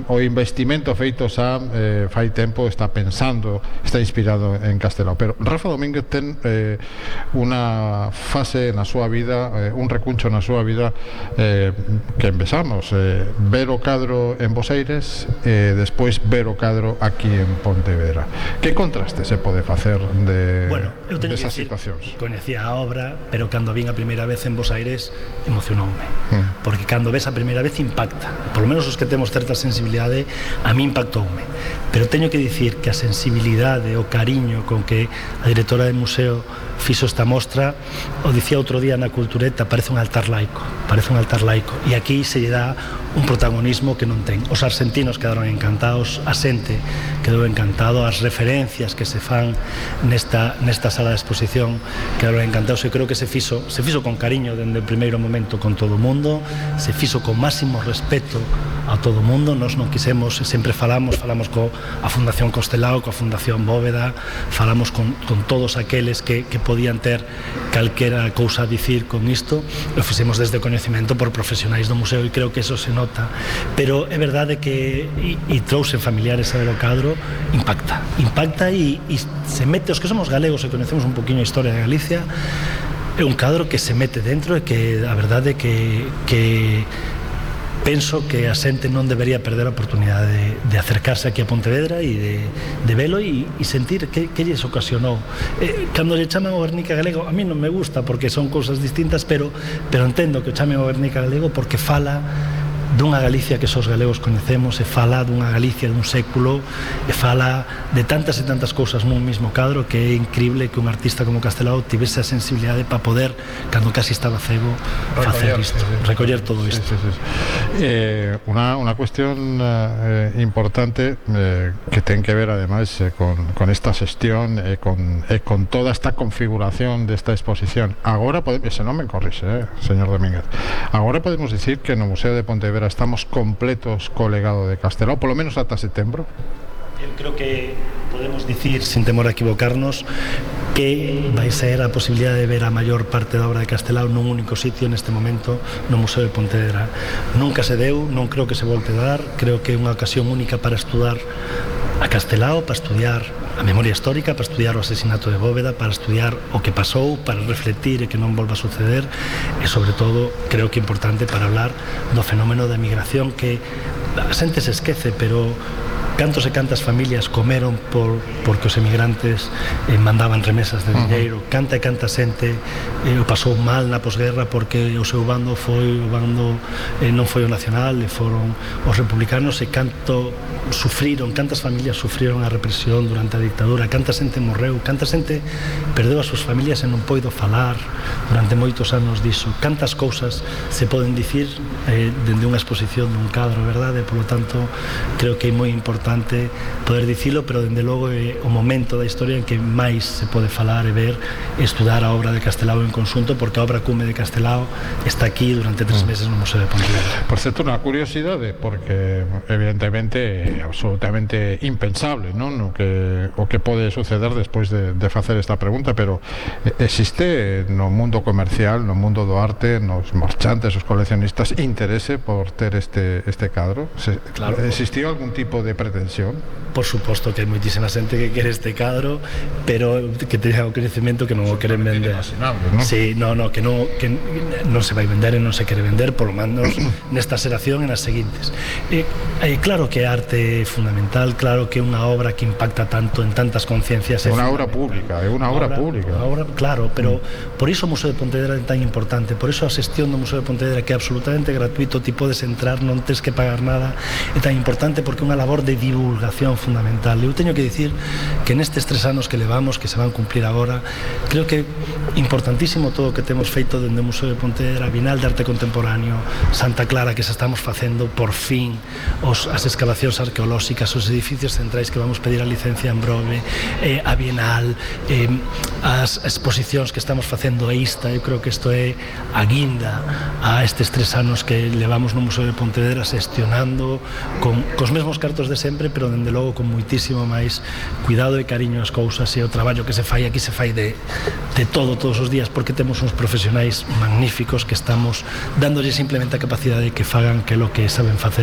o investimento feito xa fai tempo está pensando, está inspirado en Castelao, pero Rafa Domínguez ten unha fase na súa vida, un recuncho na súa vida que empezamos ver o cadro en Bos Aires e despois ver o cadro aquí en Pontevedra. Que contraste se pode facer desas situacións? Coñecía a obra, pero cando vin a primeira vez en Bos Aires emocionoume, porque cando ves a primeira vez impacta, por lo menos os que temos certa sensibilidade, a mí impactoume, pero teño que dicir que a sensibilidade, o cariño con que a directora do museo fixo esta mostra, o dicía outro día na Cultureta, parece un altar laico, e aquí se lle dá un protagonismo que non ten. Os argentinos quedaron encantados, a xente quedou encantado, as referencias que se fan nesta sala de exposición quedaron encantados. Eu creo que se fixo con cariño dende o primeiro momento con todo o mundo, se fixo con máximo respeto a todo o mundo. Nos non quisemos, sempre falamos coa Fundación Castelao, coa Fundación Bóveda, falamos con todos aqueles que podían ter calquera cousa a dicir con isto, o fixemos desde o coñecemento por profesionais do museo, e creo que eso se nota, pero é verdade que e trouxen familiares a ver o cadro, impacta e se mete, os que somos galegos e conhecemos un poquinho a historia de Galicia, é un cadro que se mete dentro e que a verdade que penso que a xente non debería perder a oportunidade de acercarse aquí a Pontevedra e de velo e sentir que lles ocasionou. Cando lle chaman o Guernica galego, a mí non me gusta porque son cousas distintas, pero entendo que o chamen o Guernica galego porque fala dunha Galicia que os galegos coñecemos, e fala dunha Galicia dun século, e fala de tantas e tantas cousas nun mismo cadro, que é increíble que un artista como Castelao tivese a sensibilidade para poder, cando casi estaba cego, facer isto, recoller todo isto. Unha cuestión importante que ten que ver ademais con esta xestión e con toda esta configuración desta exposición. Agora, se non me corrixe, señor Domínguez, agora podemos dicir que no Museo de Pontevedra estamos completos co legado de Castelao, polo menos ata setembro. Eu creo que podemos dicir, sin temor a equivocarnos, que vai ser a posibilidade de ver a maior parte da obra de Castelao nun único sitio neste momento no Museo de Pontevedra. Nunca se deu, non creo que se volte a dar, creo que é unha ocasión única para estudar a Castelao, para estudiar a memoria histórica, para estudiar o asesinato de Bóveda, para estudiar o que pasou, para refletir e que non volva a suceder, e sobre todo creo que é importante para hablar do fenómeno da migración, que a xente se esquece, pero cantos e cantas familias comeron porque os emigrantes mandaban remesas de dinheiro, canta e canta xente o pasou mal na posguerra porque o seu bando foi o bando non foi o nacional, e foron os republicanos, e canto sufriron, cantas familias sufriron a represión durante a dictadura, canta xente morreu, canta xente perdeu as súas familias e non poido falar durante moitos anos diso, cantas cousas se poden dicir dende unha exposición dun cadro, verdade? Por lo tanto, creo que é moi importante poder dicilo, pero dende logo é o momento da historia en que máis se pode falar e ver e estudar a obra de Castelao en conxunto, porque a obra cume de Castelao está aquí durante 3 meses no Museo de Pontevedra. Por certo, unha curiosidade, porque evidentemente é absolutamente impensable, non? O que pode suceder despois de facer esta pregunta, pero existe no mundo comercial, no mundo do arte, nos marchantes, os coleccionistas, interese por ter este cadro? Claro. Existiu algún tipo de pretensión? Por suposto que hai moitísima xente que quere este cadro, pero que teña o coñecemento que non o queren vender. ¿No? Sí, que non se vai vender e non se quere vender, por lo menos nesta xeración e nas seguintes. Claro que a arte é fundamental, claro que é unha obra que impacta tanto en tantas conciencias. É unha obra pública, claro, pero por iso o Museo de Pontevedra é tan importante, por iso a xestión do Museo de Pontevedra, que é absolutamente gratuito, ti podes entrar, non tens que pagar nada, é tan importante porque é unha labor de divulgación fundamental. Eu teño que dicir que nestes 3 anos que levamos, que se van cumplir agora, creo que é importantísimo todo o que temos feito dende o Museo de Pontevedra, Bienal de Arte Contemporáneo, Santa Clara, que se estamos facendo por fin, as excavacións arqueolóxicas, os edificios centrais que vamos pedir a licencia en breve, a Bienal, as exposicións que estamos facendo a ista. Eu creo que isto é a guinda a estes 3 anos que levamos no Museo de Pontevedra xestionando cos mesmos cartos de sempre, pero dende logo con moitísimo máis cuidado e cariño as cousas, e o traballo que se fai aquí se fai de todos os días, porque temos uns profesionais magníficos que estamos dándolle simplemente a capacidade que fagan que lo que saben facer